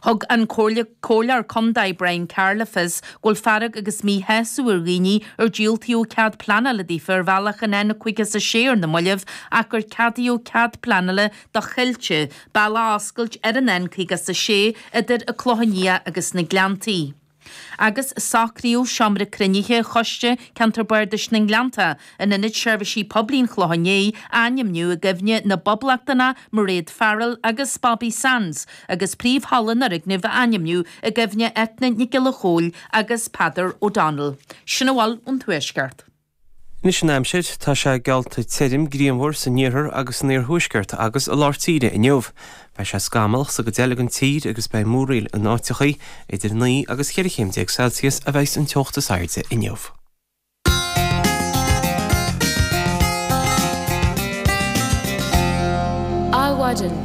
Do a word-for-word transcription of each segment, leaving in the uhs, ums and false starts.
Thug an Comhairleoir Contae Brian Carr le fios go bhfuil fearg agus míshásamh ar dhaoine ar diúltaíodh cead pleanála daofa ar bhealach an N caoga is a sé ar na mallaibh ach gur ceadaíodh cead pleanála do Choillte, bealach a oscailt ar an N caoga is a sé idir an Clochán Liath agus na Gleanntaí. Agus socraíodh seomra cruinnithe Choiste Ceantar Bardais na nGleannta in Ionad Seirbhísí Poiblí an Chlocháin Léith a ainmniú i gcuimhne na bPoblachtánach Mairéad Farrell agus Bobby Sands agus príomhhalla an fhoirgnimh a ainmniú i gcuimhne Eithne Nic Giolla Chóill agus Peadar O'Donnell. Sin a bhfuil ón Tuaisceart. Anois an aimsir, tá sé geallta tirim grianmhar san iarthar agus san iarthuaisceart agus i lár tíre inniu. Beidh sé scamallach sa gcuid eile den tír agus beidh múraíl in áiteachaí idir naoi agus cheithre chéim déag Celsius a bheidh an teocht is airde inniu. Adhmhaidin.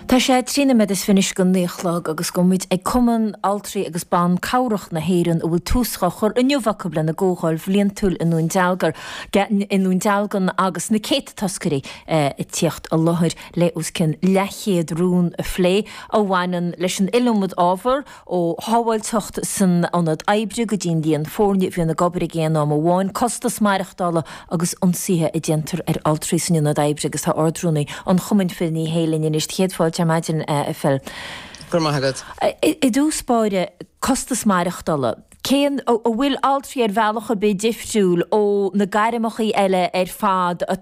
Tá sé trí nóiméad is fiche anois go naoi a chlog agus gabhfaidh muid ag Cumann Altraí agus Ban Cabhrach na hÉireann a bhfuil tús á chur inniu acu lena gcomhdháil bhliantúil i nDún Dealgar i nDún Dealgan agus na céadta toscairí ag tíocht i láthair le os cionn leathchéad rún a phlé a bhaineann leis an iliomad ábhar ó shábháilteacht san ionad oibre go dtí an líon foirne a bhíonn ag obair ag aon am amháin, costas maireachtála agus ionsaithe a déantar ar altraí san ionad oibre agus tá Ard-Rúnaí an Chumainn Phil Ní Sheaghdha linn anois. Céad fáilte ar maidin, a Phil. Go raibh maith agat. I dtús báire, costas maireachtála. Cén, an bhfuil altraí ar bhealach ar bith difriúil ó na gairmeacha eile ar fad atá